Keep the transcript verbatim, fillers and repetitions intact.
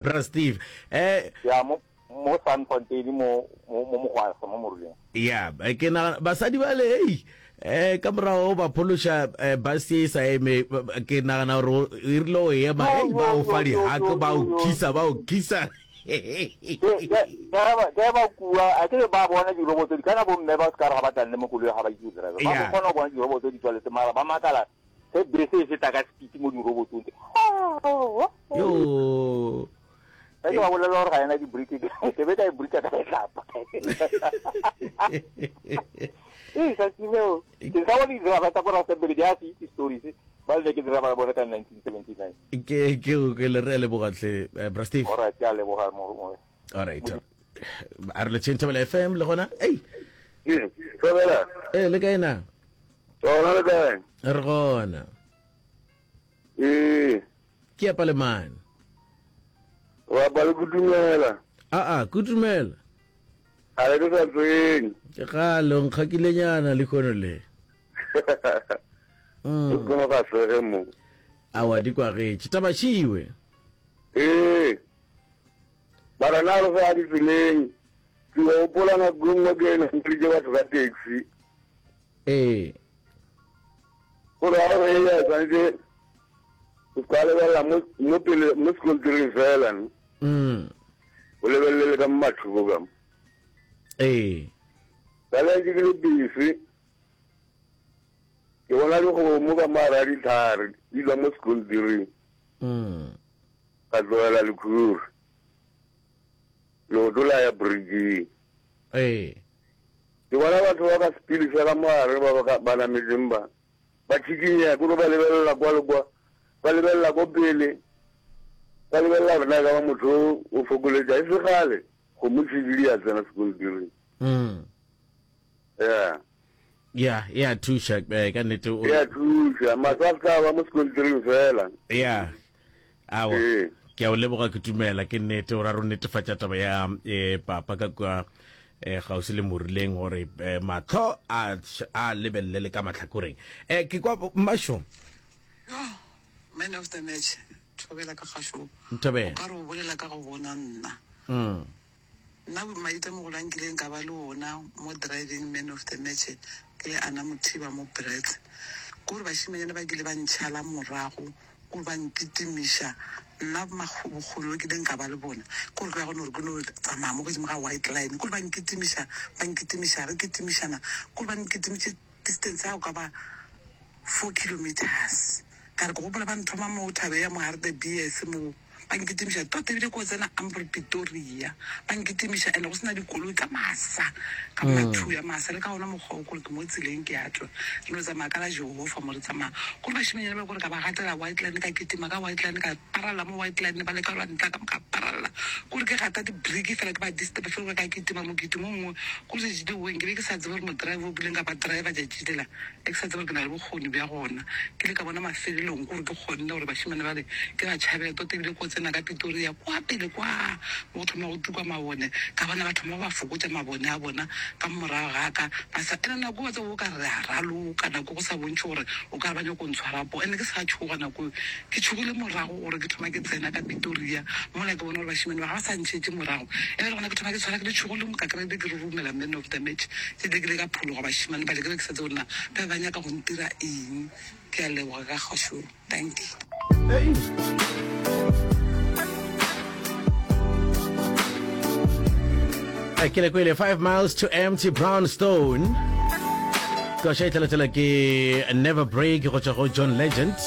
Bra Steve. Eh Ya mo mo Sandfontein mo mo mo Mogwasa mo Moruleng. Ya, ke nagana basadi bale hei eh ka morago ba phološa eh, bus ye e sa eme ke nagana gore e rile o ema hei ba o fa dihak ba o kisa ba o kisa. Ke ke ke ba kua a ke ba bona diroboto di kana bomme ba se ka re ga ba tla le mo koloi ga ba itse go driver. Ba kgona go bona diroboto di tswaletse mara ba makala ge bese e feta ka speed mo dirobotong. Yo. Ge ke ba bolelela gore ga ena di-brick ke be ka e bricka ka letlapa. Ee, tsatsi leo ke sa bone di-driver tsa ko Rustenburg di a se itse stories ba le ke driver bone ka nineteen seventy-nine. Ke ke ke le re a leboga hle eh, Bra Steve. Alright, ke a leboga mo mo. Alright. A re le tšheng Thobela F M le gona. Ei. Ee, Thobela. Eh, le kae na? Gona le kae? Re gona. Ee. Ke apa le mane. Wa ba le kutumela. A a, kutumela. A le ke sa tsweng. Ke gale o nkgakilenyana le khono le. Mm. O kono ga sege mo. Awa di kwagetše. Taba šiwe. Ee. Bara na re sa di tseleng. Ke gopola nako e nngwe ke nameleditše batho ka taxi. Ee. Gore ga o re ya tshwanetse o ka lebelela mo mo pele mo sekontiring fela no. Mm. O lebelele ka mo mathoko ka mo. Ee. Ka le ke le busy. Ke bona dikgomo ka mo hara ditlhare di dula mo sekontiring. Mm. Ka tlogela lekhuri. Leoto la ya bridging. Ee. Ke bona batho ba ka sepele fela mo gare ba ba ba nametseng ba ba tšhikinyega, ke no ba lebelela kwa le kwa, ba lebelela ko pele, ba lebelela gore na e ka ba motho o o fokoletša. E se kgale kgomo tšhididi ya tsena sekontiring. Mm. Ya. Ya, ya thuša eh, ka nnete o. Ya thuša, mahlo a se ka ba mo sekontiring fela. Ya. Awa. Ee. Ke a o leboga ke dumela ke nnete o ra re o netefatša taba ya eh, papa ka kua eh, kgauswi le Morileng gore eh, mahlo a a lebelele le ka mahlakoreng. Eh, ke kwa mmašo. Yo, man of the match, Thobela ka kgašo. Thobela. O ka re o bolela ka go bona nna. Mm. Nna maitemogelo a nkileng ka ba le ona mo driving man of the match ke le Anna Mothiba mo Brits. Ke gore bašemanyana ba kile ba ntšhala morago, gore ba nkitimiša. Nna bokgoni bo kileng ka ba le bona ke gore ke ya go no re ke no tsamaya mo godimo ga white line, ke gore ba nkitimiša, ba nkitimiša, re kitimišana, ke gore ba nkitimitše distance ya go ka ba four kilometres. Ka re ke gopola ba nthoma mo thabeng ya mo Hartebees mo. Ba nkitimiša tota ebile ko tsena Ambrose Pretoria. Ba nkitimiša and go se na dikoloi ka masa, ka mathu ya masa le ka ona mokgwa wo kore ke mo tseleng ke a tšwa. Re no tsamaya ka la Jehofa mo re tsamaya. Kore bašemanyana ba kore ka ba gatela white line ka kitima ka white line ka paralla mo white line ba leka go ntla ka ka paralla. Kore ke gata di brake fela ke ba disturb fela ka kitima mokitimo o mongwe. Kore tšatši leo nke be ke sa tsebe gore mo driver o kileng ka ba driver tšatši lela. Ke sa tsebe gore ke na le bokgoni bja gona. Ke ile ka bona mafelelong gore ke kgonne gore bašemane bale ke ba tšhabele tota ebile ko tsena ka Pretoria kwa pele kwa mo go thoma go tuka mabone, ka bona ba thoma ba fokotša mabone a bona ka morago ga ka. Ba sa ene nako wa tseba o ka re re a raloka nako go sa bontšhe gore o ka re ba nyako ntshwara poo. Ene ke sa tšhoga nako eo, ke tšhogile morago gore ke thoma ke tsena ka Pretoria mola ke bona gore bašemane ba ga ba sa ntšhetše morago. Ya ba le gona ke thoma ke tshwara ke letšhogo lengwe ka kry-a ebile ke roromela man of the match. Ke ile ke ile ka phologa bašemane bale ke be ke sa tsebe gore na ba be ba nyaka go ntira eng. Ke a leboga ka kgašo. Thank you. Ke le kwele five miles to empty brownstone. Koša e tlalatela ke Never Break go tšwa go John Legend.